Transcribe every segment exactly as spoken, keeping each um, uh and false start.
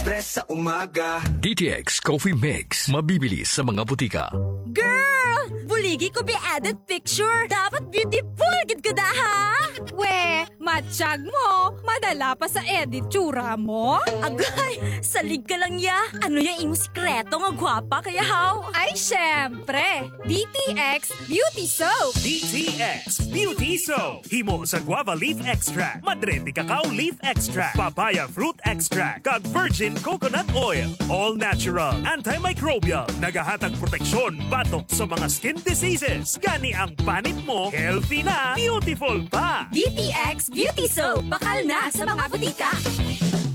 Express sa umaga. D T X Coffee Mix. Mabibili sa mga butika. Girl! Buligi ko bi edit picture. Dapat beautiful gid ka da, ha? We, matsyag mo. Madala pa sa edit tsura mo. Agay, salig ka lang ya. Ano ya imo sikreto nga gwapa kaya, haw? Ay, syempre. D T X Beauty Soap. D T X Beauty Soap. Himo sa guava leaf extract, madre de cacao leaf extract, papaya fruit extract, kag virgin coconut oil. All natural, antimicrobial, nagahatag proteksyon batok sa mga skin diseases. Gani ang panit mo, healthy na, beautiful pa. D T X Beauty Soap, bakal na sa mga butika.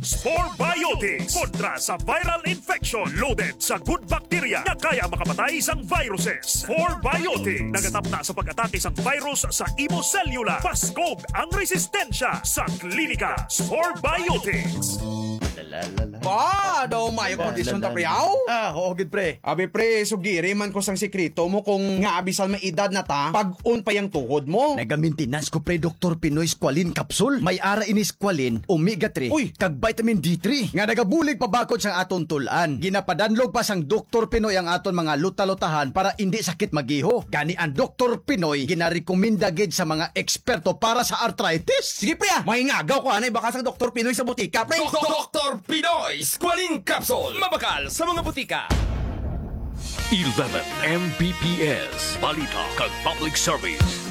Spore Biotics, kontra sa viral infection, loaded sa good bacteria nga kaya makapatay sang viruses. Spore Biotics, nagatapna sa pag-atake sang virus sa imo selula. Paskog ang resistensya sa klinika. Spore Biotics. Ba, daw mayo kondisyon ta, pre, aw? Ah, oo, gid, pre. Abi, pre, sugiri man ko sang sikreto mo kung nga abisan may edad na ta, pag-on pa yang tuhod mo. Nagamentenas ko, pre, Doktor Pinoy Squalene Capsule. May ara ini Squalene, Omega three, Uy! kag Vitamin D three, nga nagabulig pa bakod sang aton tul-an. Ginapadanlog pa sang Doktor Pinoy ang aton mga luta-lutahan para indi sakit magiho. Gani ang Doktor Pinoy ginarekomenda gid sa mga eksperto para sa arthritis. Sige, pre, ah. Mahingagaw ko anay baka sang Doktor Pinoy sa butika, pre. Dok-, Doktor Pinoy Squalene Capsule. Mabakal sa mga butika. Eleven M B P S, balita kag public service.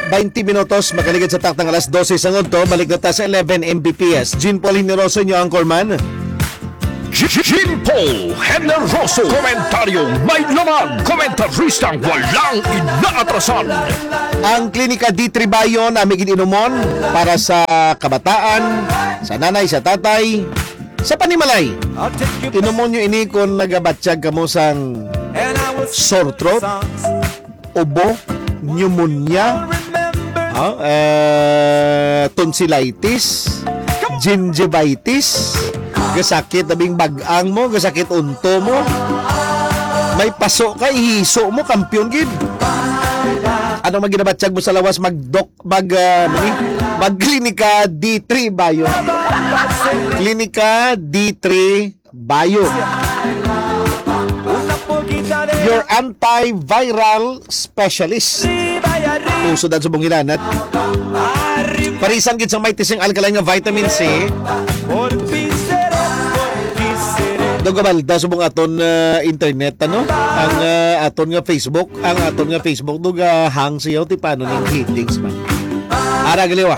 Baynte minutos, makaligid sa taktang alas dose sang udto, balik na ta sa eleven M B P S. Jean Paul Generoso, inyo anchorman. Jean Paul Generoso. Komentaryong may laman. Komentaristang walang inaatrasan. Ang Klinika D three Bayo, nami gid inomon para sa kabataan, sa nanay, sa tatay, sa panimalay. Inomon nyo ini kung nagabatyag kamo sang sore throat, ubo, pneumonia, ah, eh, tonsillitis, gingivitis, gasakit labing bag-ang mo, gasakit unto mo, may paso ka, ihiso mo, kampiyon gid. Ano man ginabatyag mo sa lawas, mag-doc, mag, ah, ano ni? Mag-klinika D three Bayo. Klinika D three Bayo. Your antiviral specialist. Uso dan subong hilanat. Parisan gid sa may tising alkaline nga vitamin C. Daw gabalda subong aton, ah, internet, ano? Ang, ah, aton nga Facebook, ang aton nga Facebook, daw ga-hang siya, ti paano ning settings man. Ara, galiwa.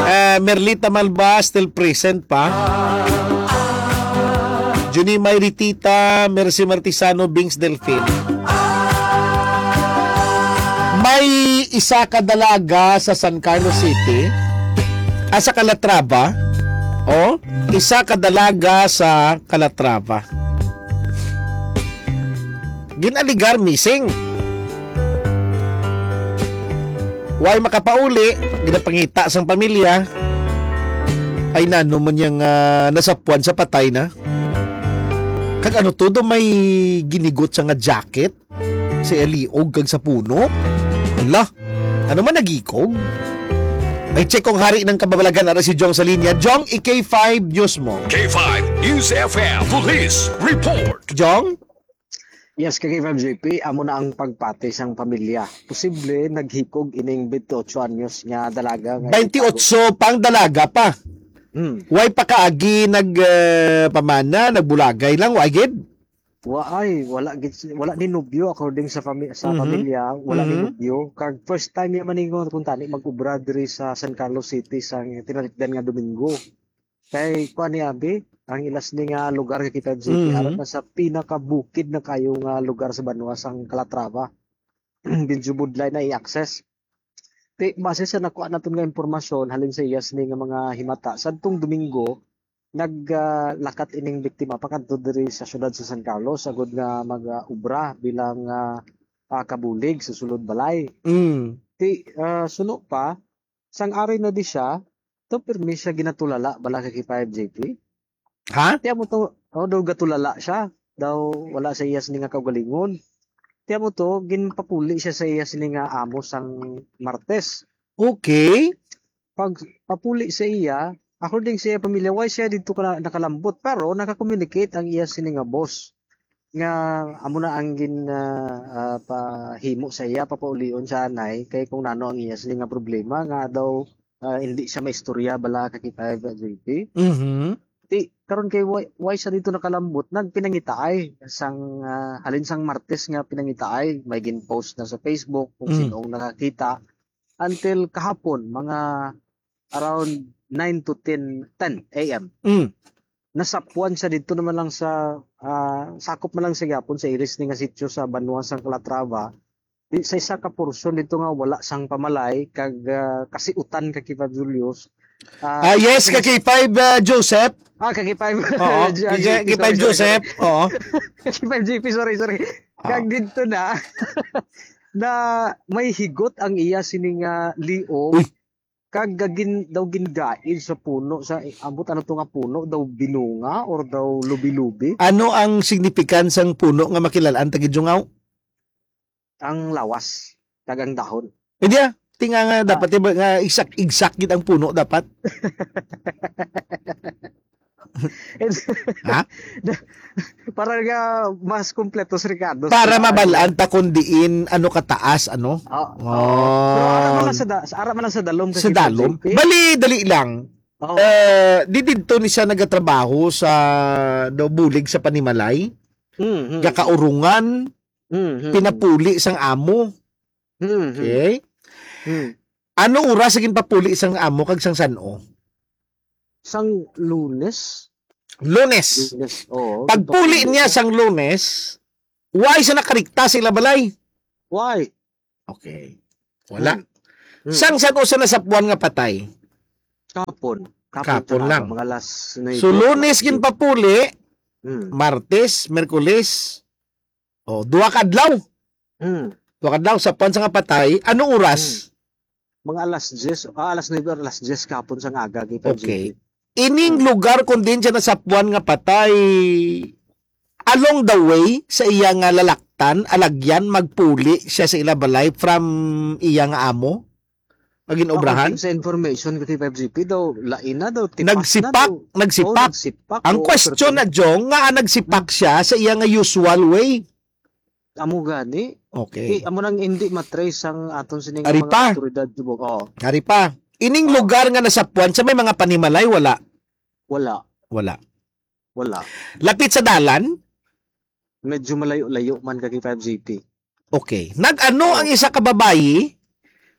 Eh, Merlita Malba, still present pa. Junie May Ritita, Mercy Martisano, Bings Delfin. May isa ka dalaga sa San Carlos City, ah, sa Calatrava. Oh, isa ka dalaga sa Calatrava. Ginaligar missing. Way makapauli, ginapangita sang pamilya. Ay, nano man yang, ah, nasapuan sa patay na. Kag ano to, daw may ginigot sa nga jacket sa iliog kag sa puno? Ala, ano man nagikog? Ay, check kung hari ng kababalagan, ara si Jong sa linya. Jong, i-K five News mo. K five News F M Police Report. Jong? Yes, K five J P, amo na ang pagpati sang pamilya. Posible naghikog ining twenty-eight anyos nga dalaga nga Twenty-eight pang dalaga pa. Hmm. Way pa kaagi nag, eh, pamana, nagbulagay lang, wa gid? Wa ay, wala gid si-, wala ni nobyo according sa fami-, sa Mhm. pamilya, wala ni Mhm. nobyo. Kag first time niya maningon kung tani mag-ubra diri sa San Carlos City sa tinalikdan nga Domingo. Kay kuan ni abi, ang ilas ni nga lugar nga kita, J P, Mhm. aron na sa pinakabukid na kayo nga lugar sa banwa sang Calatrava. Medyo budlay na i-access. Ti, base sa nakuha naton nga impormasyon, halin sa iyas ni nga mga himata, sadtong Domingo, nag, ah, lakat ining biktima pakadto diri sa siyudad sa San Carlos, agud nga mag, ah, ubra bilang, ah, ah, kabulig sa sulod balay. Mm. Ti, ah, suno pa, sang ari na di siya, to pirmi siya ginatulala bala kay five J P. Ha? Tiyan mo to, oh, daw gatulala siya. Daw wala sa iya sini nga kaugalingon. Tiyan mo to, ginpapuli siya sa iya sini nga amo sang Martes. Okay. Pag papuli sa iya, According sa iya pamilya, why siya dito ka nakalambot? Pero naka-communicate ang iya sini nga boss nga amo na ang gin ah, ah, pahimo sa iya, papaulion sa anay kay kung nano ang iya sini nga problema nga daw ah, hindi siya maistorya bala ka kita, J P. Mhm. Ti karon kay why, why siya dito nakalambot? Nagpinangitaay sang ah, halin sang Martes nga pinangitaay, may gin-post na sa Facebook kung Mm. sino ang nakakita, until kahapon, mga around nine to ten, ten a.m. Mm. Nasapuan siya dito naman lang sa ah, sakop man lang sa gyapon sa iris ni nga sitio sa Banwa sang Calatrava. Di, sa isa ka portion dito nga wala sang pamalay kag ah, kasiutan ka Kipa Julius. Ah, yes, ka K five, ah, Joseph. Ah, ka K five. Oo, J- ka J P, K five sorry, sorry, Joseph. Oo. sorry. Ka K five J P, sorry, sorry. Ah. Kag dito na na may higot ang iya sini nga liog. Uy. Kag gagin daw gingaid sa puno sa eh, ambot ano to nga puno daw binunga or daw lubi-lubi. Ano ang significance sang puno nga makilalaan tagi Jungaw? Ang lawas kag ang dahon. Hindi ah. Tinga nga dapat diba, nga exact exact gid ang puno dapat. Ha? Para nga mas kompleto si Ricardo. Para mabalaan ta kung diin ano kataas ano. Oh, Oh. Pero ara man lang sa, da, ara man lang sa dalom Sa dalom. Bali dali lang. Oh. Eh, di didto ni siya nagatrabaho sa do bulig sa panimalay, Mm, mm, gakaurungan, mm, mm, pinapuli sang amo. mm, mm. Okay? Mm. Ano oras sa ginpapuli sang amo kag sang san-o? Sang Lunes? Lunes. Lunes, oo. Pagpuli Ginpapuli niya siya. Sang Lunes, why siya nakarikta sa ila balay? Why? Okay. Wala. Hmm. Hmm. Sang san-o sa nasapuan nga patay? Kapon. Kapon sa lang. Mga alas nuebe. So, Lunes ginpapuli, Hmm. Martes, Merkules. O, duha ka adlaw. Hmm. Duha ka adlaw, sapuan sa nga patay. Anong oras? Mga alas diyes, ah, alas nuebe, alas diyes kapon sa aga. Kita Okay. Ining lugar kung din siya nasapuan nga patay, along the way sa iya nga lalaktan, alagyan, magpuli siya sa ila balay from iya nga amo? Pag ginobrahan? Sa information ko, T five G P daw, lain na daw, tipas Nagsipak, na daw. nagsipak. Oh, nagsipak. Ang Oh, question pero- na, Jong, nga nagsipak siya sa iya nga usual way. Amo gani. Okay. Di, amo nang hindi matrace ang aton sining Ari mga pa. Otoridad subong. Oh, Ari pa. Ining lugar nga nasapuan sa may mga panimalay, wala. Wala. Wala. Wala. Lapit sa dalan? Medyo malayo-layo man kag five G P. Okay. Nag-ano Oh. ang isa ka babayi?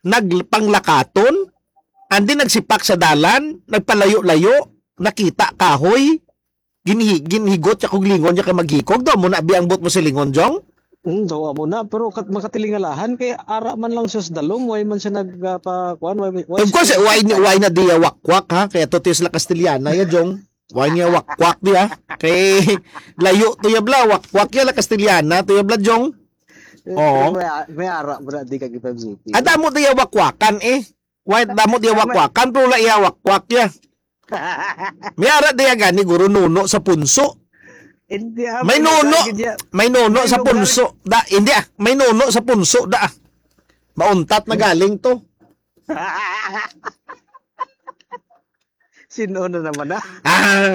Nagpanglakaton? Andi nagsipak sa dalan? Nagpalayo-layo? Nakita kahoy? Ginhi ginhigot siya kog lingon niya kay maghikog daw mo na abi ang buot mo sa lingon, Jong? Hmm, daw amo na, pero kat makatilingalahan kay ara man lang siya sa dalom, why man siya nagpakuan, why, why Of course, why ni why na diya wakwak ha? Kaya to sila Castellana ya, Jong. Why niya wakwak diya? Kay layo to ya bla, wakwak ya la Castellana to ya bla, Jong. Oo. May, may ara mo na di kag five G P. Ada mo diya wakwakan eh. Why damo diya wakwakan pero la iya wakwak ya. May ara diya gani guro nuno sa punso. Hindi, ah, May may nuno. nagagid niya. May nuno May sa lugar. Punso. Da, hindi ah. May nuno sa Punso da. Ah. Mauntat na galing to. Sino na naman ah? Ah,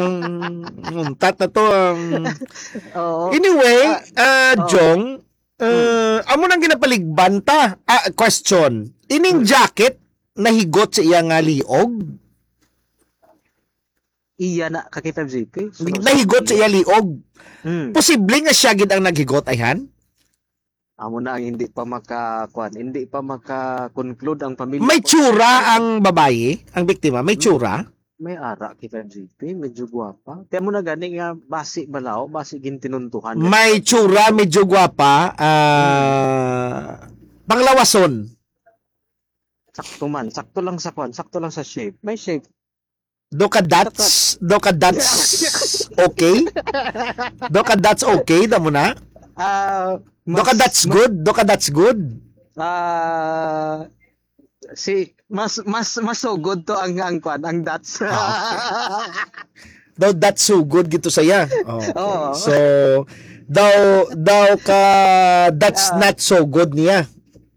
untat na to. Um, Oo. Anyway, ah, Oo. Jong, uh, amo nang ginapaligban ta. Ah, question. Ining Hmm. jacket nahigot sa iya nga liog? Iya na, kakita J P. So, Nahigot sa iya liog. Hmm. Posible nga siya gid ang naghigot, ayhan? Amo na ang hindi pa maka, kuan, hindi pa maka-conclude ang pamilya. May ko. tsura ang babayi, ang biktima, may tsura. May ara kita J P, medyo gwapa. Kaya mo na gani nga basi balaw, basi gintinuntuhan. May tsura, medyo gwapa, ah, panglawason. Sakto man, sakto lang sa kuan, sakto lang sa shape. May shape. Do ka that's, do ka that's okay? Do ka that's okay, damo na? Ah, Do ka that's good, do ka that's good. Ah, si mas mas mas so good to ang ang kuan, ang that's. Ah. Daw that's so good gito saya. Oh, okay. Oo. So daw daw ka that's Ah. Not so good niya.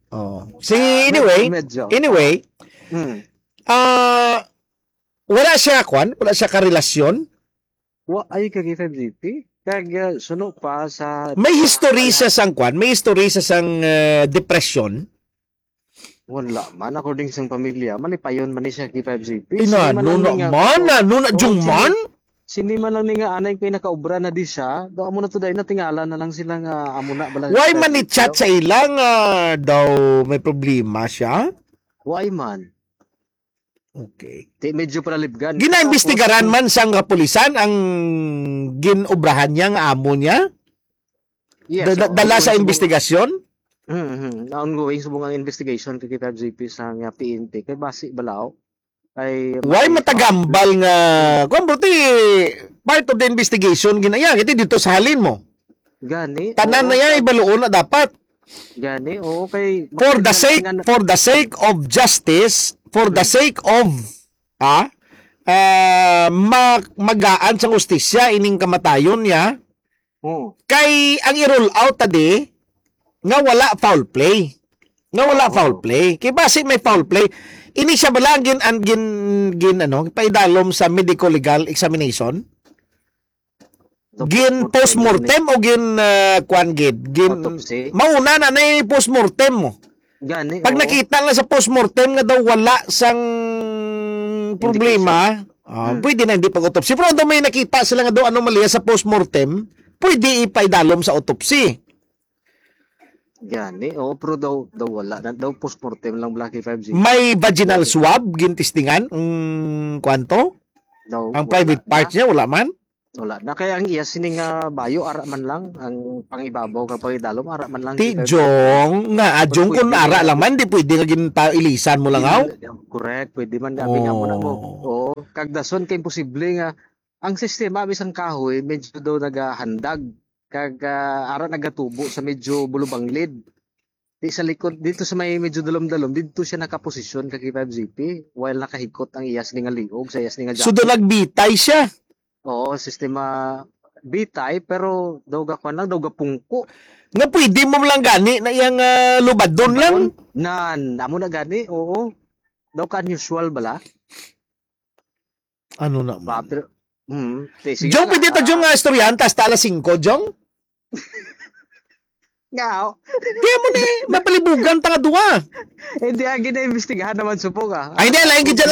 Oh. Si Ah, anyway, medyo. Anyway, Hmm. ah Wala siya, kwan? Wala siya karelasyon? Wa ay kag K five G P. Kag uh, suno pa sa May history siya sang, kwan? May history siya sang uh, depression? Wala man, according sang pamilya, malipayon man ni siya K five G P. Ina, ano na man? Ano na, Jungman? Sini man lang ni nga anay kay nakaubra na di siya. Do amo na to dai natingala na lang sila nga amo na bala. Why man ni chat sa ilang uh, daw may problema siya? Why man? Okay. Di medyo palibgan. Ginaimbestigaran man sang kapulisan ang ginobrahan niya nga amo niya? Yes. Da- da- dala sa investigasyon? Mm-hmm. Ongoing subong ang investigation kay K five G P sa nga P N P kay basi balaw. Ay Why matagambal nga kung bro ti part of the investigation ginaya kiti dito sa halin mo. Gani. Tanan na yan ibaluon na dapat. Gani, oo kay For the sake for the sake of justice, for the sake of ah uh, ma- magaan sang hustisya ining kamatayon niya. Oo. Kay ang i-rule out tadi nga wala foul play. Nga wala foul play. Kay basi may foul play. Ini siya bala ang gin, ang gin, gin ano, paidalom sa medico legal examination. Gin postmortem o gin uh, kwan gid. Gin Autopsy. Mauna na na yung postmortem mo. Gani. Pag Oo. Nakita na sa postmortem nga daw wala sang problema, ah, Hmm. pwede na hindi pag-autopsy. Pero daw may nakita sila nga daw anomalya sa postmortem, pwede ipaidalom sa autopsy. Gani, oo, pero daw, daw wala na, daw postmortem lang bala K five G. May vaginal swab, gintistingan, ang kwanto? Daw Ang wala private na. Part niya, wala man? Wala na. Kaya ang iya sini nga bayo, ara man lang, ang pangibabaw nga pangidalom, ara man lang. Ti K five G. Jong, nga, ah, Jong, kung Pwede ara na. Lang man, di pwede nga ginta-, ilisan mo lang, aw? Correct, pwede man, abi nga mo na mo. Oo. Oo, kagdason kay imposible nga, ang sistema, abi sang kahoy, medyo daw nagahandag. Kag ah, ara nagatubo sa medyo bulubanglid. Di sa likod, dito sa may medyo dalom-dalom, dito siya nakaposisyon kag K five G P, while nakahikot ang iyas ni nga liog sa iyas ni nga So, jacket. Doon nagbitay siya. Oo, sistema bitay, pero daw gakuan lang, daw gapungko. Nga pwede mo lang gani na iyang ah, lubadon lang. Nan, amo na gani, oo. Daw ka unusual bala. Ano na Ba, man? pero, hmm, te, sige Jong, na. Pwede ta, Jong, nga istoryahan, tas ta alas singko, Jong? Nga, oh. Kaya mo na eh, mapalibugan ta nga duwa. Hindi, ang gina-imbestigahan naman, supong, ah. Ay, hindi, lain gid dyan